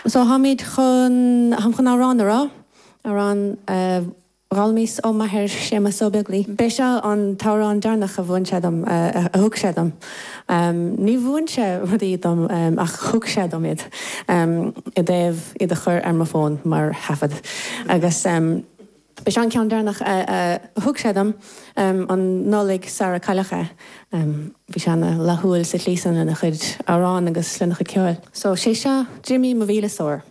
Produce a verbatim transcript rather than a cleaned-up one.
So táimid chun táim chun amhrán a rá amhrán uh, d'fhoghlaimíos ó m'athair Séamus Ó Beaglaoich. B'é seo an t-amhrán deireanach a mhúin sé dom a thug sé dom. Um, ní mhúin sé rudaí dom um, ach thug sé dom iad um, i dtaobh iad a chur ar mo fón mar thaifead. Agus um, B'é an ceann deireanach a thug sé dom um, an Nollaig sara cailleadh é. Um, Bhí sé an-fhlaithiúil sa tslí san lena chuid amhrán agus lena chuid ceoil. So sé seo Jimmy mo mhíle stór.